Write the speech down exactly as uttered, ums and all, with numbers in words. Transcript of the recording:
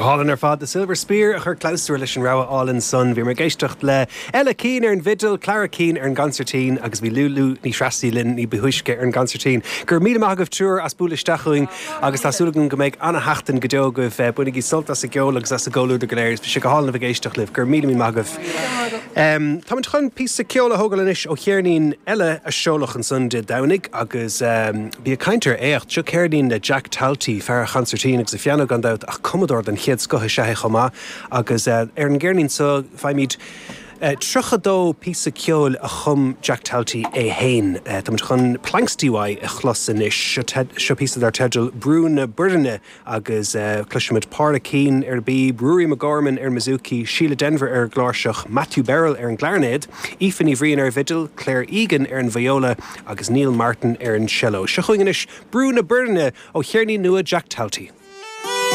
hálainn ar fad The Silver Spear a chur clabhsúr leis an rogha álainn san bhí ag éisteacht le Ella Keane ar an bhfidil, Clara Keane ar an gconsairtín agus bhí Lulu Ní Threasaigh linn ní ba thúisce ar an gconsairtín. Gur míle maith agaibh triúr as bualadh isteach chugainn agus tá súil agam go mbeidh an-sheachtain go deo agaibh bainigí sult as an gceol agus as an gcomhluadar go léir, sé go hálainn ag éisteacht libh gur míle míle maith agaibh. Um, Táimid chun píosa ceoil a thógáil anois ó cheirnín eile a seoladh ansan Dé Domhnaigh agus um, bí ag caint ar éacht seo ceirnín le Jack Talty fear an chonsairtín agus an phianó gan dabht ach cumadóir den chéad scoth is ea é chomh maith agus uh, ar an gceirnín seo faighimid Uh, Tríocha dó píosa ceoil a chum Jack Talty é féin. Uh, Tá chun Planxty a chlos anois seo píosa dar teideal Brú na Boirne agus uh, cloisimid Paula Keane ar bpíb, Ruairí McGorman ar bouzouki, Sheila Denver ar gcláirseach, Matthew Berrill ar an gclairnéad, Aoife Ní Bhriain ar bhfidil, Claire Egan ar an viola agus Neil Martin ar an cello. Seo chugainn anois Brú na Boirne ó cheirnín nua Jack Talty.